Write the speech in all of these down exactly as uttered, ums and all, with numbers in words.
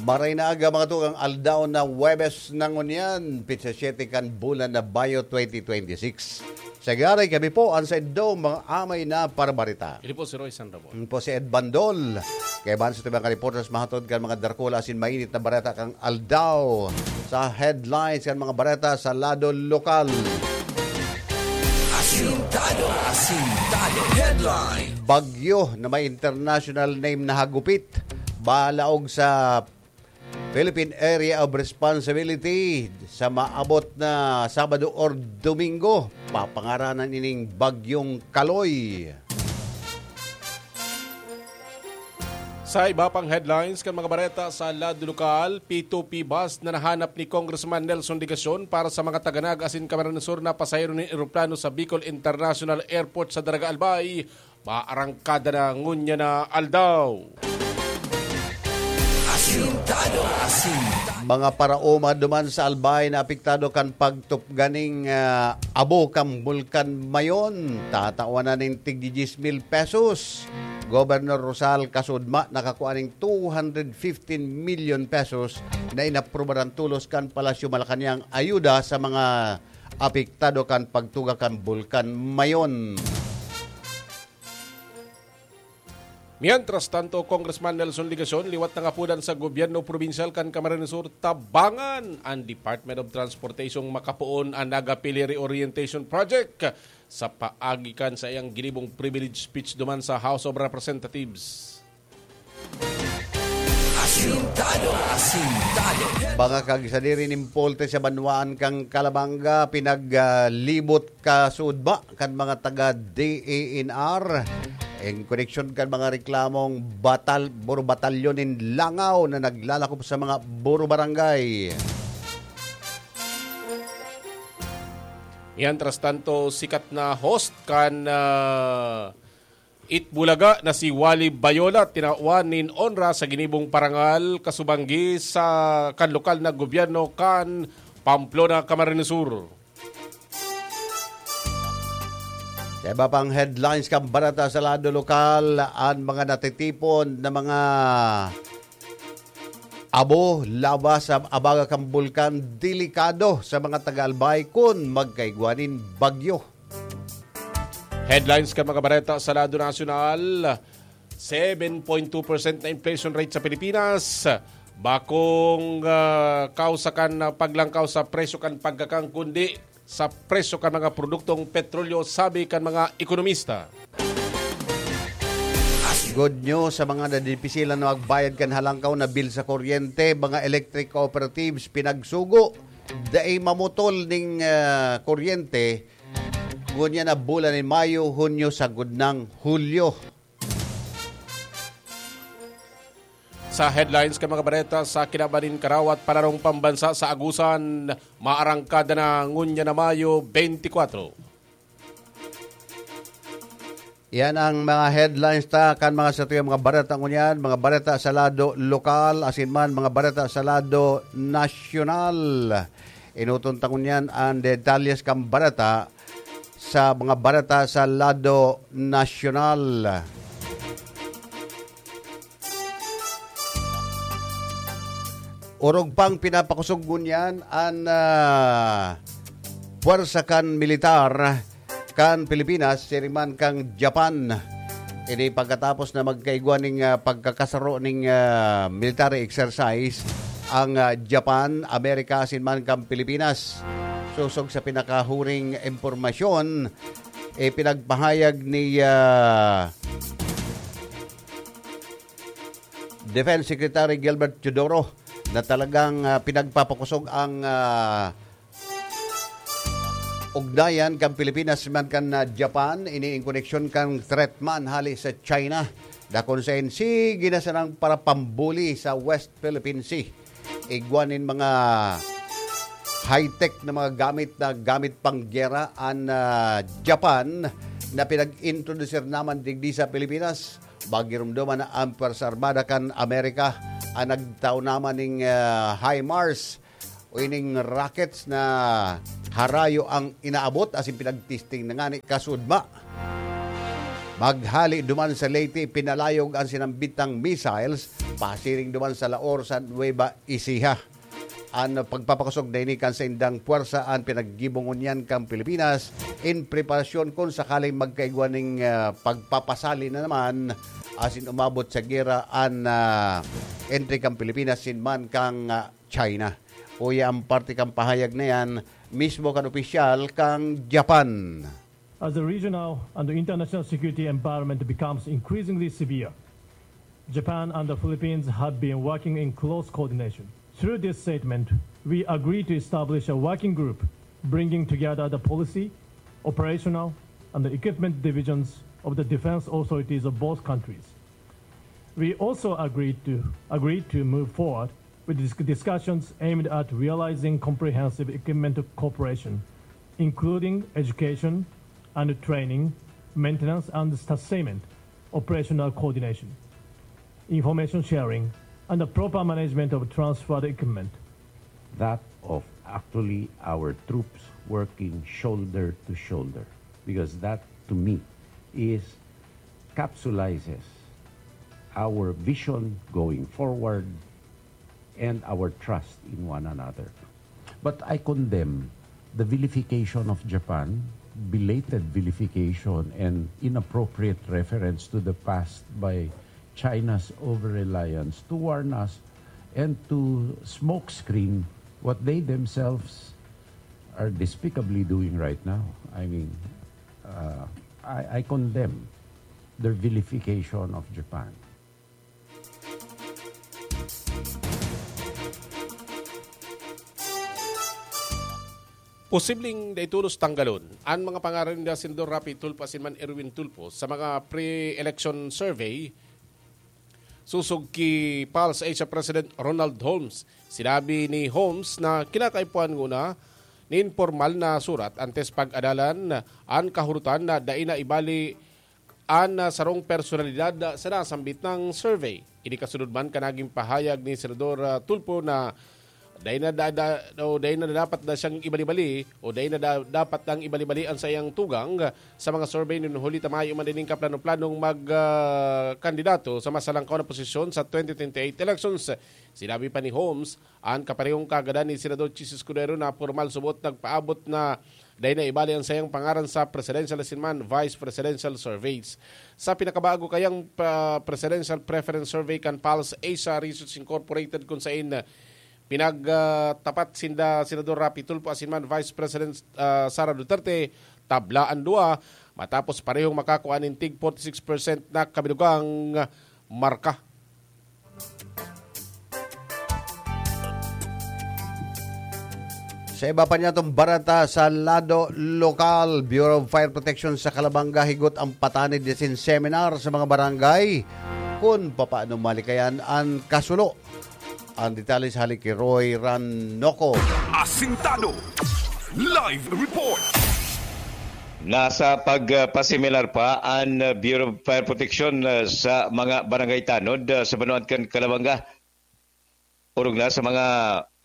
Maray na aga, mga tugang, aldaw na Huwebes na ngunyan, pitsa siyete kan bulan na Bayo twenty twenty-six. Sa ngaran kami po, an saindo mga amay na parabarita. Ini po si Roy San Ramon. Ini po si Ed Bandol. Kaya ban sa tubang ka reporters, mahatod kan mga darkula asin mainit na bareta kan aldaw. Sa headlines kan mga bareta sa lado lokal. Asintado, asintado. Headline. Bagyo na may international name na hagupit. Balaog sa Philippine Area of Responsibility sa maabot na Sabado or Domingo, papangaranan ining Bagyong Kaloy. Sa iba pang headlines kan mga bareta sa lado lokal, P two P bus na nahanap ni Congressman Nelson Legacion para sa mga Taganag asin Camarines Sur na pasahero nin eroplano sa Bicol International Airport sa Daraga Albay, maarangkada na ngunyan na aldaw. Asintado, asintado. Mga paraoma duman sa Albay na apektado kan pagtupga ning, ah, abo kan Bulkan Mayon, tatawan na nin tig diyes mil pesos. Gobernador Rosal Kasudma nakakua ning two hundred fifteen million pesos na inaprubaran tolos kan Palasyo Malacañang ayuda sa mga apektado kan pagtuga kan Bulkan Mayon. Mientras tanto, Congressman Nelson Legacion liwat nangapodan sa gobyerno probinsyal kan Camarines Sur tabangan an Department of Transportation makapoon an Naga Pili Reorientation Project sa paagi kan saiyang ginibong privilege speech duman sa House of Representatives. Asintado, asintado. Mga kagsadiri nin Polte sa banwaan kan Calabanga, pinaglibot kasudma kan mga taga D E N R. Ing koneksyon kan mga reklamong batal-, buro batalyon nin langaw na naglalakop sa mga buro barangay. Mientras tanto, sikat na host kan, ah, Itbulaga na si Wally Bayola tinawan nin onra sa ginibong parangal kasubanggi sa kan lokal na gobyerno kan Pamplona, Camarines Sur. Sa iba pang headlines kan bareta sa lado lokal, an mga natitipon na mga abo, laba sa abaga kan bulkan, delikado sa mga taga-Albay kun magkaigwa nin bagyo. Headlines kan mga bareta sa lado nasyonal, seven point two percent na inflation rate sa Pilipinas. Bakong, ah, kausa kan paglangkaw sa presyo kan pagkakan, kundi sa presyo kan mga produktong petrolyo, sabi kan mga ekonomista. Good news sa mga nadipisilan na magbayad kan halangkaw na bill sa kuryente, mga electric cooperatives pinagsugo. Dai mamutol ning, ah, kuryente, ngunyan na bulan nin Mayo, Hunyo, sagkod nang Hulyo. Sa headlines kan mga bareta sa kinaban nin karawat panarong pambansa sa Agusan, maarangkada na ngunyan na Mayo twenty-four. Yan ang mga headlines ta kan mga satuyang mga bareta ngunyan, mga bareta sa lado lokal, asin man mga bareta sa lado nasyonal. Enoton ta ngunyan an detalyes kan bareta sa mga bareta sa lado nasyonal. Orog pang pinapakosog ngunyan an, ah, puwersa kan militar kan Pilipinas, siring man kan Japan. Ini pagkatapos na magkaigwa ning, ah, pagkakasaro ning, ah, military exercise ang, ah, Japan, Amerika, asin man kan Pilipinas. Sosog sa pinakahuring impormasyon, ipinagpahayag ni, ah, Defense Secretary Gilbert Teodoro na talagang, ah, pinagpapakosog ang, ah, ugnayan kan Pilipinas man kan, ah, Japan, ini in koneksyon kan threat man hali sa China, na kun saen sige na sanang parapambuli sa West Philippine Sea. Igwa nin mga high-tech na mga gamit na gamit pang gera an, ah, Japan na pinag-introdusir naman digdi sa Pilipinas. Magirumdoman na an Pwersa Armada kan Amerika an nagtao naman ning, ah, HIMARS o ining rockets na harayo ang inaabot asin pinagtesting na ngani kasudma. Maghali duman sa Leyte, pinalayog an sinambitang missiles pasiring duman sa Laor sa Nueva Ecija. An pagpapakosog na ini kan saindang puwersa an pinaggibo ngunyan kan Pilipinas in preparasyon kun sakaling magkaigwa nin, ah, pagpapasali na naman asin umabot sa gera an, ah, entre kan Pilipinas asin man kan, ah, China. Uya an parte kan pahayag na yan mismo kan opisyal kan Japan. As the regional and the international security environment becomes increasingly severe, Japan and the Philippines have been working in close coordination. Through this statement, we agree to establish a working group bringing together the policy, operational, and the equipment divisions of the defense authorities of both countries. We also agreed to, agreed to move forward with dis-, discussions aimed at realizing comprehensive equipment cooperation, including education and training, maintenance and sustainment, operational coordination, information sharing, and the proper management of transferred equipment. That of actually our troops working shoulder to shoulder, because that, to me, is capsulizes our vision going forward and our trust in one another. But I condemn the vilification of Japan, belated vilification and inappropriate reference to the past by China's over-reliance to warn us and to smokescreen what they themselves are despicably doing right now. I mean, uh, I, I condemn their vilification of Japan. Posibleng dai tolos tanggalon an mga pangaran ni Senador Raffy Tulfo asin man Erwin Tulfo sa mga pre-election survey. Sosog ki Pulse Asia President Ronald Holmes, sinabi ni Holmes na kinakaipuhan nguna nin pormal na surat antes pag-adalan an kahurotan na dai na ibali an, ah, sarong personalidad, ah, sa nasambit na survey. Ini kasunod man kan nagin pahayag ni Senador, ah, Tulfo na dai na da-, da-, o dai na dapat na siyang ibali-bali o dai na da-, dapat nang ibali-bali an saiyang tugang sa mga survey nin huli ta mayo man ining kaplano-planong mag, ah, kandidato sa masalangkaw na posisyon sa twenty twenty-eight elections. Sinabi pa ni Holmes, an kaparehong kagadan ni Senador Chiz Escudero na pormal subot nagpaabot na dai na ibali an saiyang pangaran sa presidential asin man vice presidential surveys. Sa pinakabago kayang, ah, presidential preference survey kan Pulse Asia Research Incorporated, kun sain, ah, pinagtapat sinda Senador Raffy Tulfo asin man Vice President, ah, Sara Duterte, tabla an duwa, matapos parehong makakua nin tig forty-six percent na kabinugang marka. Sa iba pa niyatong bareta sa lado lokal, Bureau of Fire Protection sa Calabanga higot ang patanid asin seminar sa mga barangay kun papaano malikayan an kasulo. Ang detalye sa hali ki Roy Ranoco. Asintado. Live report. Nasa pagpaseminar pa an Bureau of Fire Protection, ah, sa mga barangay tanod, ah, sa banwaan kan Calabanga. Orog na sa mga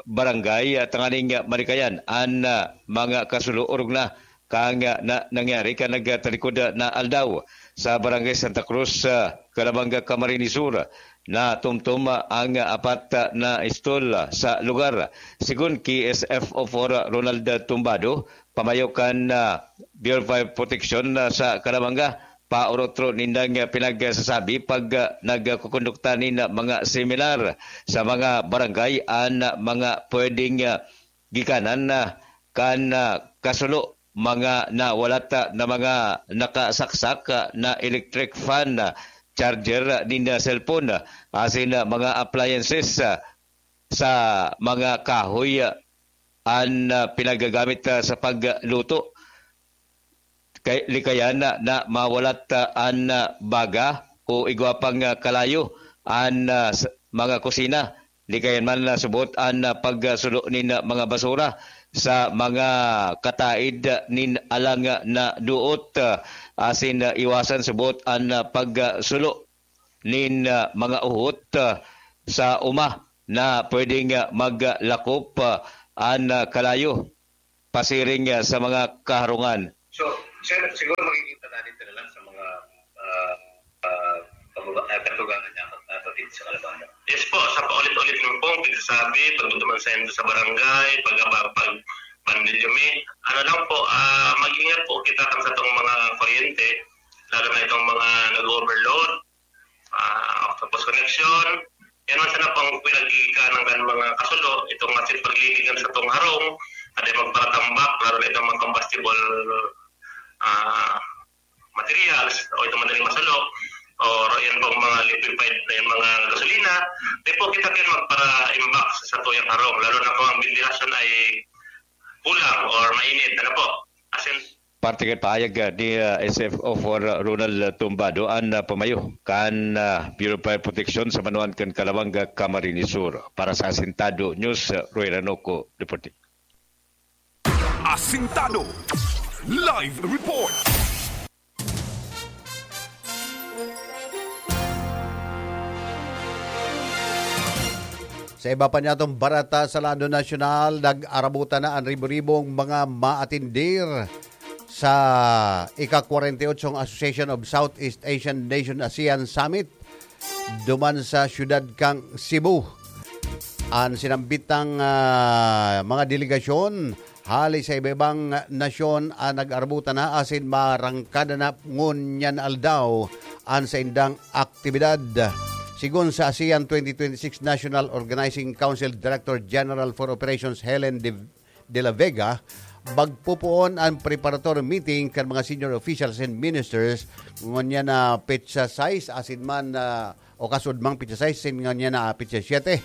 barangay, ah, tanganing, ah, malikayan an, ah, mga kasulo. Orog na kang, ah, na, nangyari kan nagtalikod, ah, na aldaw sa Barangay Santa Cruz, ah, Calabanga, Camarines Sur. Natumtom, ah, ang, ah, apat, ah, na istol, ah, sa lugar. Sigon ki S F O four, ah, Ronald Tumbado, pamayo kan, ah, Bureau of Fire Protection, ah, sa Calabanga, paorotro nindang, ah, pinagsasabi pag, ah, nagkukondukta nin, ah, mga seminar sa mga barangay an, ah, mga pwedeng, ah, gikanan, ah, kan, ah, kasulo, mga nawalat, ah, na mga nakasaksak, ah, na electric fan, ah, charger, ah, nin, ah, cellphone, ah, asin, ah, mga appliances, ah, sa mga kahoy, ah, an, ah, pinagagamit, ah, sa pagluto. Kay, likayan na, na mawalat, ah, an, ah, baga o igwa pang, ah, kalayo an, ah, s-, mga kusina. Likayan man na subot an, ah, pagsulo nin, ah, mga basura sa mga kataid, ah, nin alang, ah, na duot, ah, asin, ah, iwasan subot an, ah, pagsulo nin, ah, mga uhot, ah, sa uma na pwedeng, ah, maglakop, ah, an, ah, kalayo pasiring, ah, sa mga kaharungan. So, sir, siguro makikita natin ito na lang sa mga, Yes po, sa paulit-ulit ng pong pagsasabi, pagduduman sa, sa barangay, pag, pag, pag pandilyo mi, ano lang po, ah, mag-ingat po kita kan sa tong mga kuryente, lalo na itong mga nag-overload, ah, octopus connection. Yan ang sana pang pinagkikanan ng mga kasulo, itong asin pagliligan sa tong harong, at ay magparatambak, lalo na itong mga combustible, ah, materials, o itong madaling masulo, o yan pong mga liquefied na yung mga gasolina, di po kita kayo magpara-imbak sa tuyang harong, lalo na kung ang ventilasyon ay kulang or mainit, ano po. Asin, Parte kan pahayag, ah, ni, ah, S F O four, ah, Ronald Tumbado, an, ah, pamayo kan, ah, Bureau of Fire Protection sa Manuan kan Calabanga, Camarines Sur. Para sa Asintado News, ah, Roy Ranoco, reporting. Asintado Live Report. Sa iba pa niyatong barata sa lado nasyonal, nag-arabutan na an ribo-ribong mga maatindir sa ika-kwarenta y ocho Association of Southeast Asian Nation, ASEAN Summit duman sa siyudad kan Cebu. An sinambitang, ah, mga delegasyon hali sa iba-ibang nasyon an nag-arabutan na asin marangkadan na ngunyan aldaw an saindang aktibidad. Sigon sa ASEAN twenty twenty-six National Organizing Council Director General for Operations Helen de, de la Vega, magpupoon an preparatory meeting kan mga senior officials and ministers ngunyan na petsa sais asin man, ah, o kasudmang petsa sais, sin ngunyan na petsa siyete.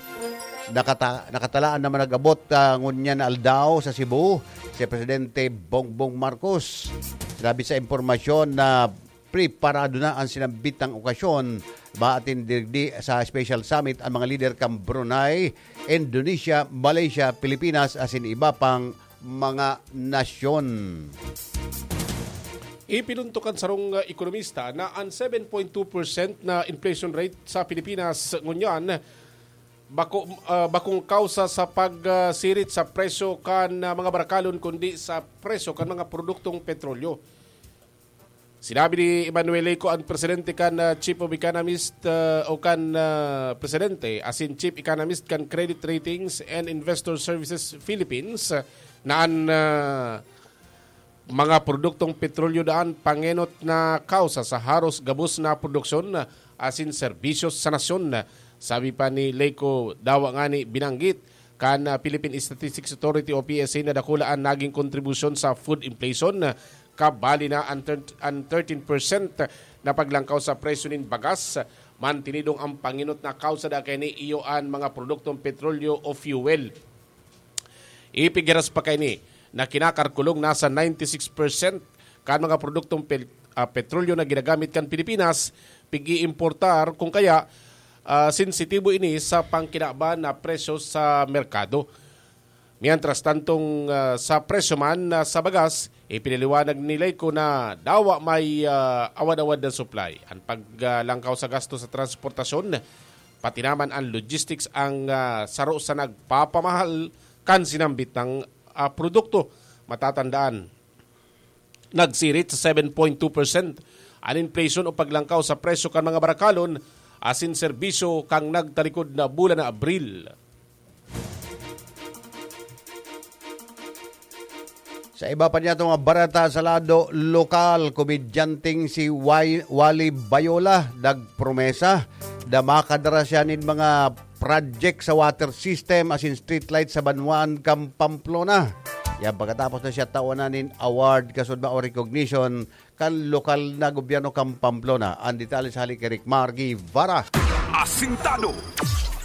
Nakata-, nakatalaan naman nag-abot, ah, ngunyan na aldaw sa Cebu si Presidente Bongbong Marcos. Sinabi sa impormasyon na preparado na an sinambitang okasyon. Maatin digdi sa special summit an mga lider kan Brunei, Indonesia, Malaysia, Pilipinas asin iba pang mga nasyon. Ipinuntok kan sarong, ah, ekonomista na an seven point two percent na inflation rate sa Pilipinas ngunyan bako, ah, bakong kausa sa pagsirit sa presyo kan, ah, mga barakalon, kundi sa presyo kan mga produktong petrolyo. Sinabi ni Emmanuel Leco, ang presidente kan, ah, Chief of Economist, ah, o kan, ah, presidente asin Chief Economist kan Credit Ratings and Investor Services Philippines, ah, na an, ah, mga produktong petrolyo daan pangenot na kausa sa haros gabos na produksyon asin serbisyo sa nasyon. Sabi pa ni Leco, dawa ngani binanggit kan, ah, Philippine Statistics Authority o P S A na dakula an naging kontribusyon sa food inflation, kabali na an thir-, an thirteen percent na paglangkaw sa presyo nin bagas. Mantinidong ang pangenot na kausa da kaini iyo an mga produktong petrolyo o fuel. Ipigiras pa kaini na kinakalkulong nasa ninety-six percent kan mga produktong pel-, ah, petrolyo na ginagamit kan Pilipinas, pig-iimportar, kung kaya, ah, sensitibo ini sa pangkinaban na presyo sa merkado. Mientras tantong, ah, sa presyo man, ah, sa bagas, ipinaliwanag ni Leco na dawa may, ah, awad-awad na supply. Ang paglangkaw sa gasto sa transportasyon, pati naman ang logistics ang, ah, saro sa nagpapamahal kan sinambit ng, ah, produkto. Matatandaan, nagsirit sa seven point two percent an inflation o paglangkaw sa presyo kan mga barakalon asin serbisyo kan nagtalikod na bulan na Abril. Sa iba pa niya itong barata sa lado lokal, komedyanteng si Wai-, Wally Bayola nagpromesa na makadara siya nin mga project sa water system asin streetlight sa banwaan kan Pamplona. Yan pagkatapos na siya tawanan nin award kasudma o recognition kan lokal na gobyerno kan Pamplona. Ang detalye sa hali kay Rick Mar Guevara. Asintado.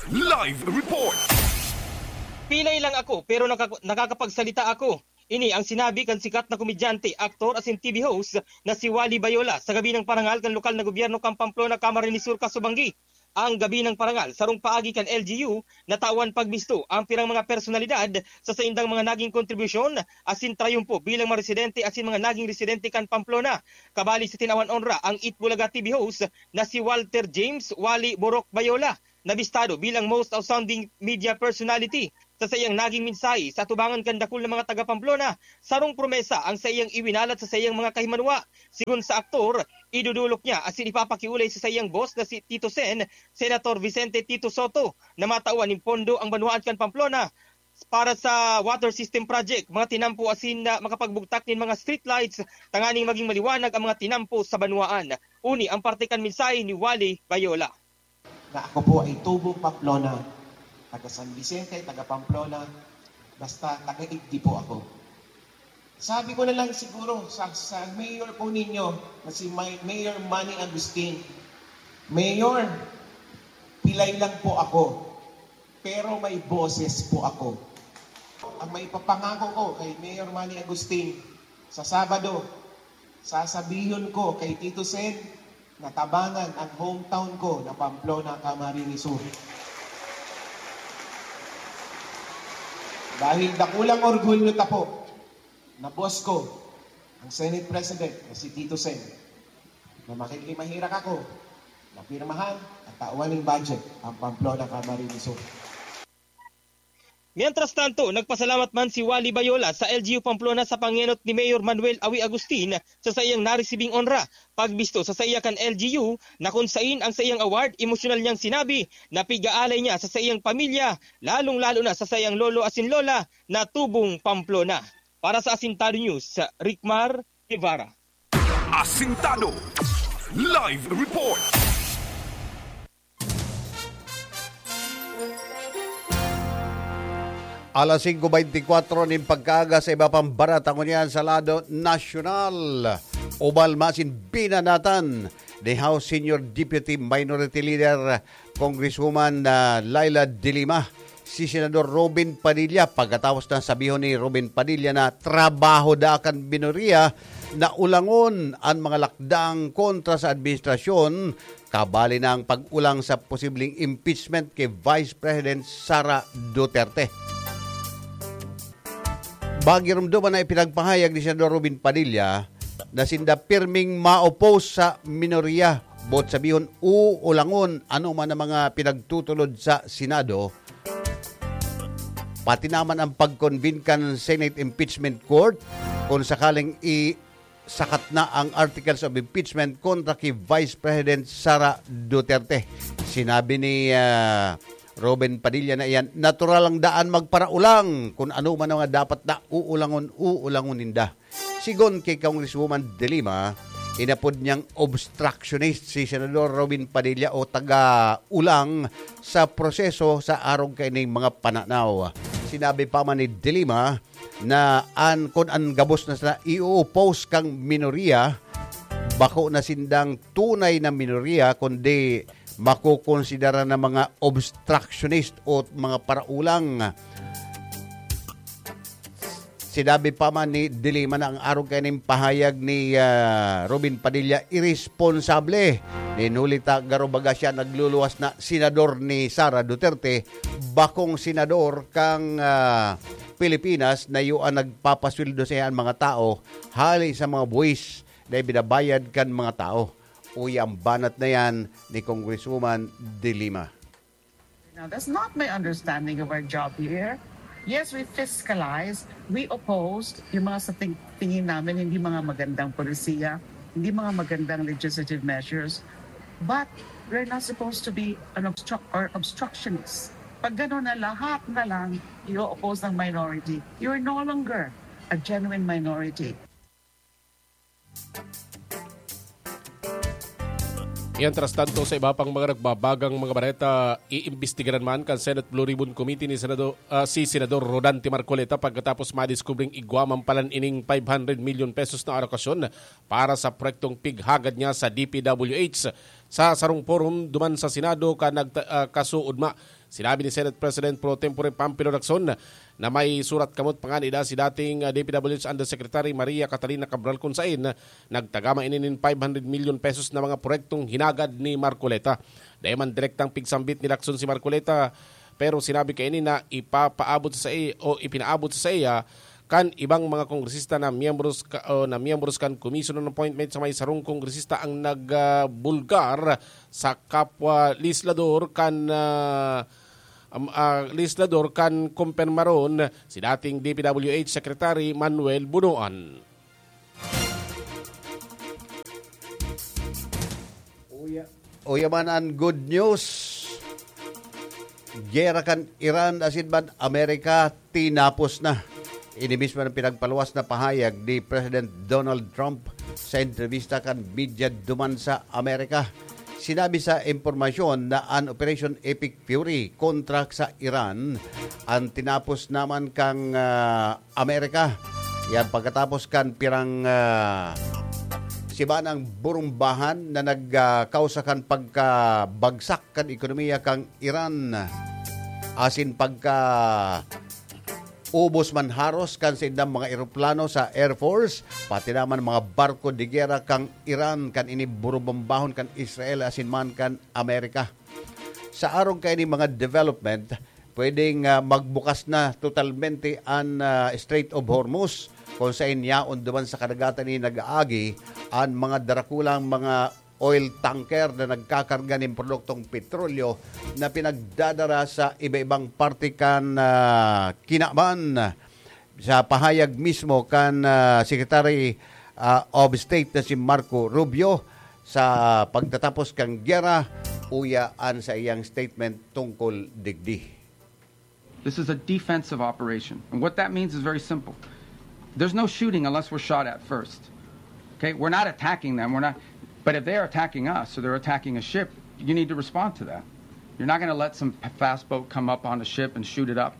Live report. Pilay lang ako, pero nakak-, nakakapagsalita ako. Ini ang sinabi kan sikat na komedyante, aktor asin T V host na si Wally Bayola sa gabi ng parangal kan lokal na gobyerno kan Pamplona, Camarines Sur, Casubangui. Ang gabi ng parangal, sarong paagi kan L G U, natawan pagbisto ang pirang mga personalidad sa saindang mga naging kontribusyon asin trayumpo bilang mga residente asin mga naging residente kan Pamplona. Kabali sa tinawan onra ang Eat Bulaga T V host na si Walter James Wally Borok Bayola, na bistado bilang Most Outstanding Media Personality Sa saiyang naging mensahe sa atubangan kan dakul na mga taga Pamplona, sarong promesa ang saiyang iwinalat sa saiyang mga kahimanwa. Sigon sa aktor, idudulok niya asin ipapakiolay sa saiyang boss na si Tito Sen, Senator Vicente Tito Sotto, na matawan nin pondo ang banwaan kan Pamplona para sa water system project, mga tinampo asin na makapagbugtak nin mga streetlights tanganing magin maliwanag ang mga tinampo sa banwaan. Uni ang parte kan mensahe ni Wally Bayola. Na ako po ay tubong Pamplona, taga San Vicente, taga Pamplona, basta taga-igdi po ako. Sabi ko na lang siguro sa, sa mayor po ninyo na si May- Mayor Manny Agustin, "Mayor, pilay lang po ako, pero may boses po ako." Ang maipapangako ko kay Mayor Manny Agustin, sa Sabado, sasabihon ko kay Tito Sen na tabangan ang hometown ko na Pamplona, Camarines Sur. Dahil dakulang orgulyo ta po na boss ko, ang Senate President na si Tito Sen, na makikimahirak ako na pirmahan at tawan ning budget ang Pamplona, Camarines Sur. Mientras tanto, nagpasalamat man si Wally Bayola sa L G U Pamplona sa pangenot ni Mayor Manuel Awi Agustin sa saiyang naresibing onra. Pagbisto sa saiya kan L G U na kun sain ang saiyang award, emosyonal niyang sinabi na pig-aalay niya sa saiyang pamilya, lalong-lalo na sa saiyang lolo asin lola na tubong Pamplona. Para sa Asintado News, Rickmar Guevara. Asintado Live Report. Alas singko beintikwatro nin pagkaaga sa iba pang barata ngunyan sa lado nasyonal. Ubal masin binanatan ni House Senior Deputy Minority Leader Congresswoman, ah, Leila de Lima si Senador Robin Padilla. Pagkatapos na sabihon ni Robin Padilla na trabaho da kan minorya na ulangon an mga lakdang kontra sa administrasyon, kabali na ang pag-ulang sa posibleng impeachment kay Vice President Sara Duterte. Bagirumduman na ipinagpahayag ni Senador Robin Padilla na sinda pirming ma-oppose sa minorya, boot sabihon, uulangon ano man ang mga pinagtutulod sa Senado, pati naman ang pag-convene kan Senate Impeachment Court kung sakaling i- sakat na ang articles of impeachment kontra ki Vice President Sara Duterte. Sinabi ni, ah, Robin Padilla na iyan, natural lang daan magparaulang kun ano man ang mga dapat na uulangon, uulangon ninda. Sigon ki Congresswoman De Lima, inapod niyang obstructionist si Senador Robin Padilla o taga-ulang sa proseso sa arog kaining mga pananaw. Sinabi pa man ni De Lima, na an, kun an gabos na sana i-oppose kang minorya, bako na sindang tunay na minorya, kundi makokonsidera na mga obstructionist o mga paraulang. Sinabi pa man ni De Lima na ang arog kaining pahayag ni, ah, Robin Padilla iresponsable. Nin huli ta garo baga siya nagluluwas na senador ni Sara Duterte, bakong senador kang, ah, Pilipinas na iyo an nagpapasweldo sa an mga tao hali sa mga buwis na ibinabayad kan mga tao. Uya ang banat na yan ni Congresswoman De Lima. Now, that's not my understanding of our job here. Yes, we fiscalize, we oppose yung mga sa ting- tingin namin hindi mga magandang polisiya, hindi mga magandang legislative measures. But we're not supposed to be an obstruct or obstructionist. Pag gano'n na lahat na lang i-oppose ng minority, you're no longer a genuine minority. Mientras tanto, sa iba pang mga nagbabagang mga bareta, iimbestigaran man kan Senate Blue Ribbon Committee ni Senado-, ah, si Senador Rodante Marcoleta pagkatapos madiskubring igwa man palan ining five hundred million pesos na alokasyon para sa proyektong pighagad niya sa D P W H. Sa sarong forum duman sa Senado kan nagta-, ah, kasuodma, sinabi ni Senate President pro tempore Pampilo Lacson na may surat kamot pangani da si dating, ah, D P W H Undersecretary Maria Catalina Cabral, kun sain nagtagama ini nin five hundred million pesos na mga proyektong hinagad ni Marcoleta. Dai man direktang pigsambit ni Lacson si Marcoleta, pero sinabi kaini na ipapaabot sa sai-, o ipinaabot sa saiya kan ibang mga kongresista na miyembros ka, o na miyembros kan Commission on Appointment sa may sarong kongresista ang nagbulgar sa kapwa legislador kan, ah, am-, ah, legislador kan kumpirmaron si dating D P W H Secretary Manuel Bunuan. Uya, uya man an good news. Gera kan Iran asin man Amerika tinapos na. Ini mismo ang pinagpaluwas na pahayag ni President Donald Trump sa entrevista kan media duman sa Amerika. Sinabi sa impormasyon na an Operation Epic Fury kontra sa Iran an tinapos naman kan, ah, Amerika. Yan pagkatapos kan pirang, ah, simanang burumbahan na nagkausa kan pagkabagsak kan ekonomiya kan Iran asin pagka ubos man haros kan saindang mga eroplano sa Air Force, pati naman mga barko de gera kan Iran kan ini burubombahon kan Israel asin man kan Amerika. Sa arog kaini mga development, pwedeng, ah, magbukas na totalmente an, ah, Strait of Hormuz, kung saen yaon duman sa kadagatan ini nag-aagi an mga darakulang mga oil tanker na nagkakarga nin produktong petrolyo na pinagdadara sa iba-ibang parte kan, ah, kinaban. Sa pahayag mismo kan, ah, Secretary, ah, of State na si Marco Rubio, sa pagtatapos kan gera, uya an sa iyang statement tungkol digdi. This is a defensive operation. And what that means is very simple. There's no shooting unless we're shot at first. Okay? We're not attacking them. We're not. But if they're attacking us or they're attacking a ship, you need to respond to that. You're not gonna let some p-, fast boat come up on a ship and shoot it up.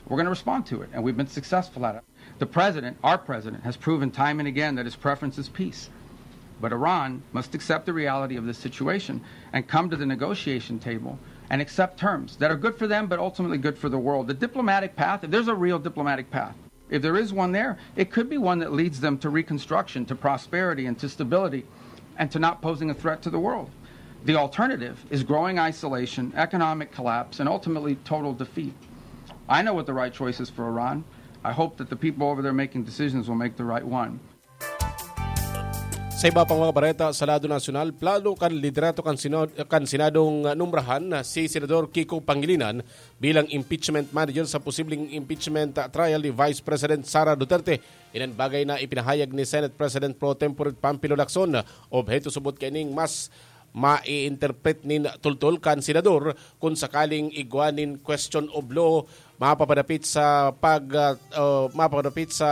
We're gonna respond to it, and we've been successful at it. The president, our president, has proven time and again that his preference is peace. But Iran must accept the reality of this situation and come to the negotiation table and accept terms that are good for them, but ultimately good for the world. The diplomatic path, if there's a real diplomatic path, if there is one there, it could be one that leads them to reconstruction, to prosperity, and to stability, and to not posing a threat to the world. The alternative is growing isolation, economic collapse, and ultimately total defeat. I know what the right choice is for Iran. I hope that the people over there making decisions will make the right one. Sa iba pang mga bareta sa lado nasyonal, plano kan liderato kan Senad-, kan Senadong numrahan na si Senador Kiko Pangilinan bilang impeachment manager sa posibleng impeachment trial ni Vice President Sara Duterte. Iyan an bagay na ipinahayag ni Senate President Pro Tempore Panfilo Lacson. Obheto subot kaining mas mai-interpret nin tultol kan senador kun sakaling igwa nin question of law mapapadapit sa pag, ah, ah, mapapadapit sa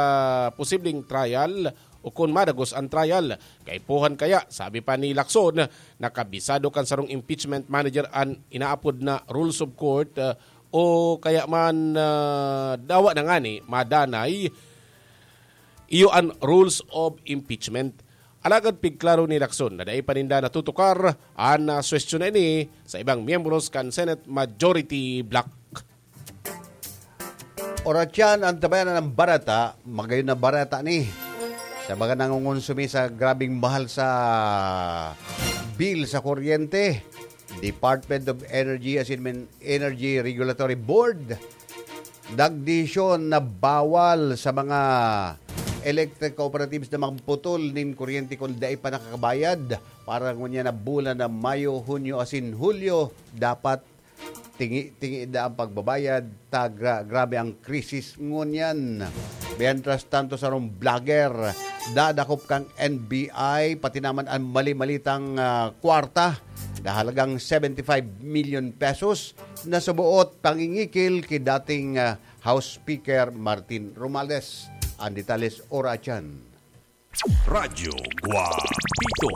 posibleng trial o kun madagos an trial. Kaipuhan kaya, sabi pa ni Lacson, na kabisado kan sarong impeachment manager an inaapod na rules of court, ah, o kaya man, ah, dawa na ngani madanay, iyo an rules of impeachment. Alagad pigklaro ni Lacson na dai pa ninda natutukar an, ah, suwestiyon na ini sa ibang miyembros kan Senate Majority Bloc. Oras yan, antabayanan ang barata, magayon na barata ni. Sa mga nangungonsumi sa grabing mahal sa bill sa kuryente, Department of Energy asin men Energy Regulatory Board nagdesisyon na bawal sa mga electric cooperatives na magputol nin kuryente kung dai pa nakakabayad. Para ngunyan na bulan na Mayo, Hunyo asin Hulyo, dapat tingi-tingi daa ang pagbabayad ta gra-, grabe ang krisis ngunyan. Mientras tanto, sarong vlogger, dadakop kan N B I, pati naman ang mali-malitang, ah, kwarta na halagang seventy-five million pesos na suboot pangingikil ki dating, ah, House Speaker Martin Romualdez. Ang detalye sa oras yan. Radyo Guapito.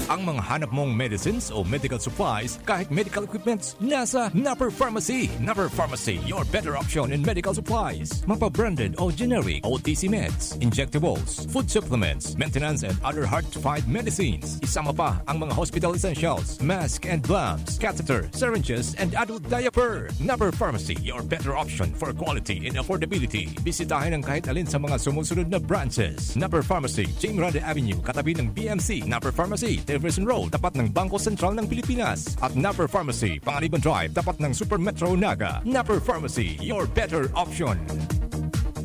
Ang mga hanap mong medicines o medical supplies, kahit medical equipments, nasa Napper Pharmacy. Napper Pharmacy, your better option in medical supplies. Mapa-branded o generic, O T C meds, injectables, food supplements, maintenance and other hard-to-find medicines. Isama pa ang mga hospital essentials, mask and gloves, catheter, syringes, and adult diaper. Napper Pharmacy, your better option for quality and affordability. Bisitahin ang kahit alin sa mga sumusunod na branches. Napper Pharmacy, Jing Grande Avenue, katabi ng B M C. Napper Pharmacy, Jefferson Road, tapat ng Bangko Sentral ng Pilipinas. At Napper Pharmacy, Panganiban Drive, tapat ng Super Metro Naga. Napper Pharmacy, your better option.